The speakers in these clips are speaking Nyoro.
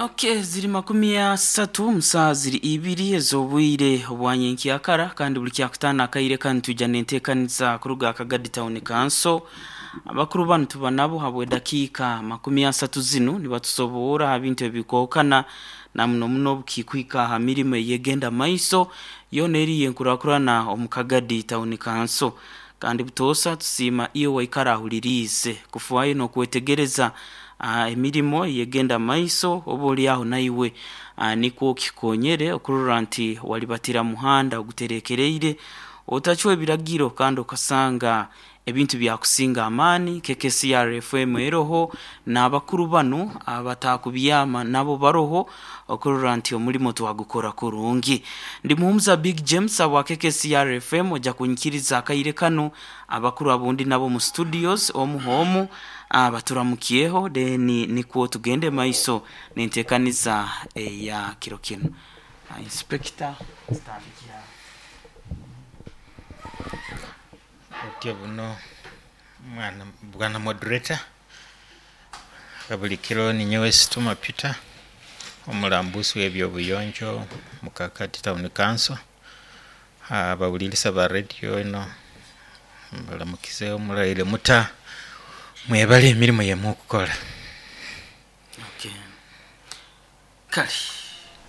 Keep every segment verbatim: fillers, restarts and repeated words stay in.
Okay, ziri makumi asatu musaa ziri ibiri ez'obwire obwanyenkyakara, kandi buli kyakutaano akaire kanu twija nenteekaniza kuruga Kagadi Town Council. Abakuru banu tuba nabo habw'edakiika makumi asatu zinu, nibatusoboora ha bintu ebikookana na muno muno obukikwika aha mirimo eyegenda maiso yoona eri enkurakurana omu Kagadi Town Council. Kandi butoosa tusiima iwe waikara ahuliriize kufaayo n'okwetegereza uh, emirimo eyegenda maiso, oba oli aho naiwe uh, nikwo kikonyere okurora nti walibatira muhanda oguterekereire, otacwa ebiragiro kandi okasanga ebintu byakusinga amaani. K K C R F M eroho n'abakuru banu abatakubyama nabo baroho okurora nti omulimo twagukora kurungi. Ndi Muhumuza Big James abwa K K C R F M. Ojja kunyikiriza akaire kanu abakuru abundi nabo mu studios omu homu baturamukiyeho, then nikwo tugende maiso nenteekaniza eya kiro kinu. Inspector, tutandikira. Otyo buno mwana bwana moderator, buli kiro ninyowe Situma Peter, omulambusi w'ebyobuyonjo mu Kakati Town Council. Abawulirisa ba radio eno mbalamukizeho, muraire muta? Mwebale emirimu yemukukora. Okay. Kale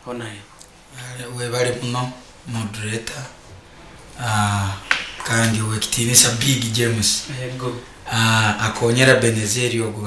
honaye. Webale muno moderator, uh, kandi owekitiinisa Big James. Yego. uh, akonyera Benezeri ogu.